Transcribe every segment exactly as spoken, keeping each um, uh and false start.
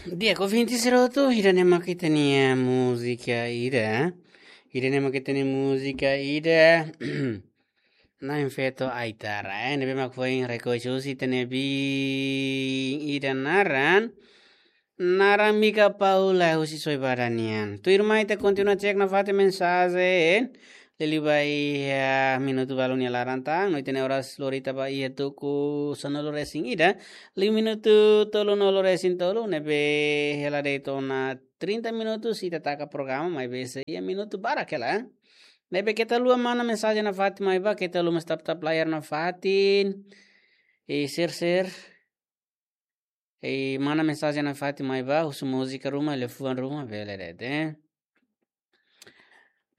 Di'ak, ouvinte sira hotu, ida-ne'e mak ita-nia múzika ida. Ida-ne'e mak ita-nia múzika ida. Na'in Feto Aitara, eh, ne'ebé mak foin rekolla husi ita-nia biin ida naran, naran Mika Paula husi Soibada nian. Tuirmai ita kontinua cek nafatin mensajen. Liuliu ba iha minutu balun nia laran tan, no ita-nia oras lori tiha ba iha tuku sanulu resin ida, liu minutu tolunulu resin tolu, ne'ebé hela de'it ona trinta minutus ita taka programa, maibé sei iha minutu barak hela. Ne'ebé keta haluha mana mensajen nafatin mai ba, keta haluha mós tap-tap layar nafatin. I share-share. I mana mensajen nafatin mai ba, husu múzika ruma, liafuan ruma, bele de'it, eh.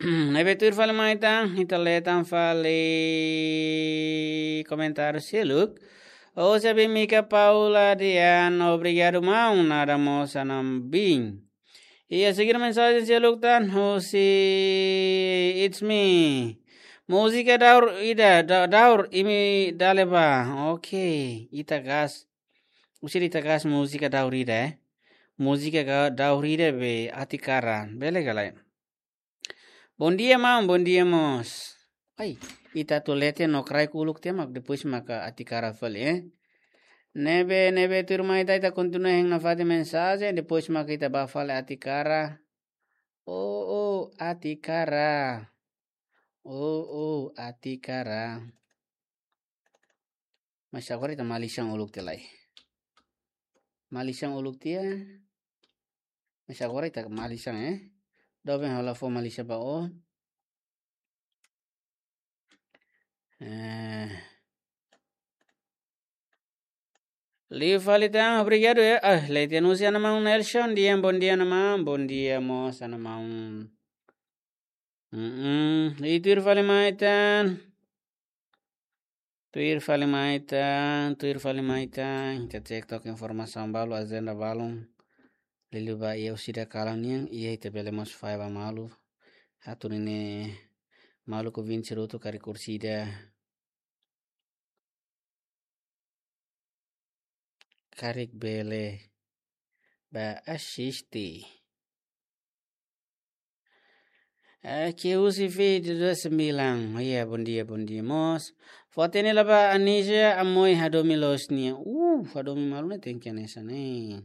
Ne'ebé tuir fali mai tan, ita lee tan fali komentáriu seluk. Obrigadu, Mika Paula Dian, obrigadu, maun, nada mós, anam bin. Iha seguir mensajen seluk tan, husi It's Me. Múzika daur ida, da-, daur, imi dale ba. Oke, ita gas. Husi ita gas múzika daur ida, eh. Múzika ga-, daur ida be Atikara. Bele ka lae. Bondia, maun, bondia mós. Ai, ita atu lee tiha no kraik uluk tiha mak depois maka Atikara fali, eh. Ne'ebé, ne'ebé tuirmai ita, ita kontinua hein nafatin mensajen, depois maka ita ba fali Atikara. Oh, oh, Atikara. Oh, oh, Atikara. Mas agora ita malisan uluk tiha lai. Malisan uluk tiha. Mas agora ita malisan, eh. Doben hola fó malisan ba o. Eh. Liu fali tan, obrigadu, eh. Ah, Letian husi Ana Maun Nelson, di'ak, bondia Ana Maun, bondia mós Ana Maun. Mm-mm. I tuir fali mai tan. Tuir fali mai tan, tuir fali mai tan. Ita cek took informasaun balu, ajenda balun. Liuliu ba iha orsida kalan nian, iha ita bele mós fahe ba malu. Atu nune'e maluk ouvinte sira hotu karik orsida karik bele ba asiste. Aqui husi Fit dua sembilan. Oh, iya, bondia, bondia mós. Fó hatene lai ba Anisia Amoi, hadomi loos nian. Uh, hadomi malu ne'e tenke hanesan ne'e.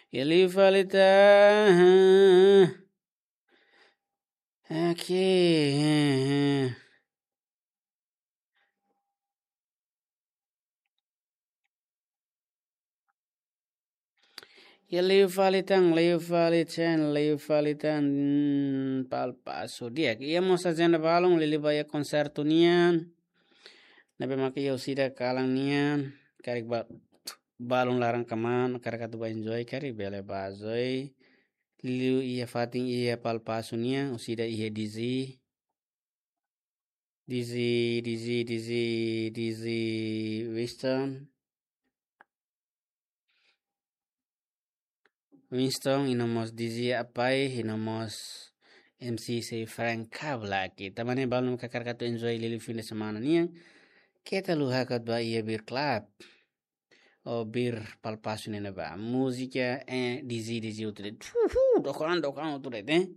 Liu fali tan. Aqui. Liu fali tan, liu fali tan, liu fali tan, Palpasu di'ak. Iha mós ajenda balun, liuliu ba iha konsertu nian. Ne'ebé maka iha orsida kalan nian, karik ba-, balun laran kmaan, karik atu ba enjoy, karik bele ba enjoy. Liu iha fatin iha Palpasu nian, orsida iha Dizzy. Dizzy, Dizzy, Dizzy, Dizzy Winston. Winston, i no mós Dizzy Apai, i no mós M C sei Frank Kablak. Tanba ne'e balun karik atu enjoy liuliu fin de semana nian. Keta haluha atu ba iha Beer Club. O Beer Palpasu ne'ebá. Múzika, eh, Dizzy, Dizzy hotu de'it. Uhu, dokan, dokan hotu de'it, eh.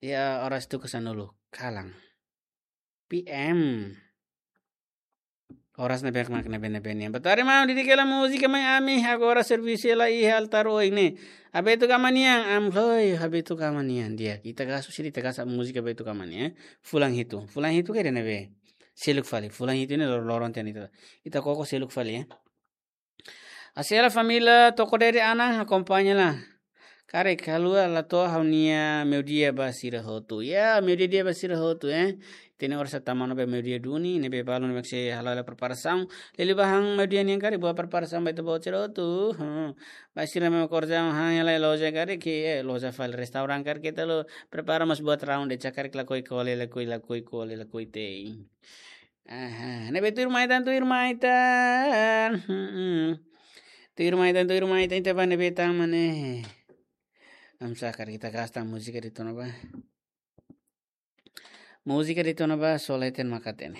Iha oras tuku sanulu kalan. P M. Oras ne'ebé mak ne'ebé-ne'ebé nian. Boa tarde, maun, didik hela múzika mai ami, agora servisu hela iha altar oin ne'e. Abetu Gama nian, am, hoi, Abetu Gama nian, di'ak. Ita gas, orsida ita gas múzika Abetu Gama nian, eh. Fulan hitu. Fulan hitu ke ida ne'ebé? Seluk fali. Fulan hitu ne'e lor-, loron tiha ona ita. Ita koko seluk fali, eh. Asela família Toko Dede Anan akompaña lai. Karik haluha la to'o ha'u-nia meiudia ba sira hotu. Ya, meiudia di'ak ba sira hotu, eh. Ita-nia oras tama ona ba meiudia duni, ne'ebé balun ne'ebé sei hala'o hela preparasaun. Liuliu ba han meiudia nian karik buat preparasaun ba ita-boot sira hotu. Hmm. Ba sira mak kerja han hela loja karik, eh, loja fali restaurante karik ita lo prepara mós buat raun de'it karik lakohi kole, lakohi, lakohi kole, lakohi te'in. Aha, ne'ebé tuirmai tan, tuirmai tan. Mm-mm. Tuirmai tan, tuirmai tan, ita ba ne'ebé tan mak ne'e. Am saka ita gas tan múzika de'it ona ba. Múzika de'it ona ba, só leten maka hatene.